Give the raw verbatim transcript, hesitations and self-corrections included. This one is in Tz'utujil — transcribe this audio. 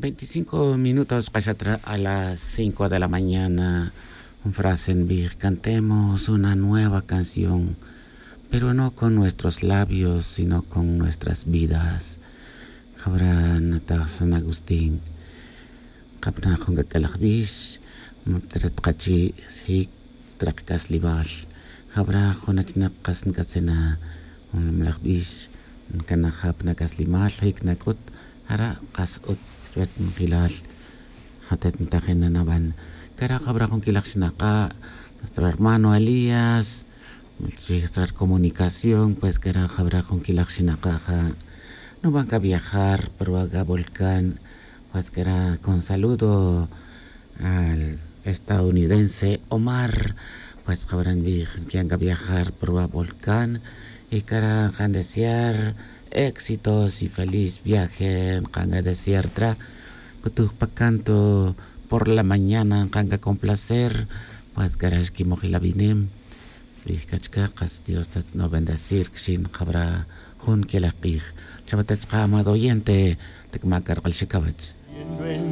Veinticinco minutos xkaxat re a las cinco de la mañana. Un frase nbij cantemos una nueva canción, pero no con nuestros labios sino con nuestras vidas. Jabra nataj san agustín. Kapna jun k'ak'alaj bix, mutret kachi' jic trek c'aslimal. Jabra jun achinak kas nc'atzena jun nimalaj bix, ncanaj jab na c'aslimal jic na c'ut. Jara' kas utz chuwech njelal. Jatet ntajin na naban cara' jabra jun quilaj xnaka', nuestro hermano elías, nuestra comunicación pues cara' jabra jun quilaj xnaka' ja' nuban ca viajar pero va ca volcán. Pues cara' con saludo al estadounidense omar. Pues jabra nbij nquian ca viajar pero va volcán. Y cara' nkan desear éxitos y feliz viaje nkan ca desear tra. Cutuj pa canto por la mañana nkan ca complacer. Pues cara' xquimojil avinem. Rij c'a chica kas dios ta no bendecir quixin jabra jun quelaj k'ij. Chawata chka amado oyente. Tecma' cark'al xicawech.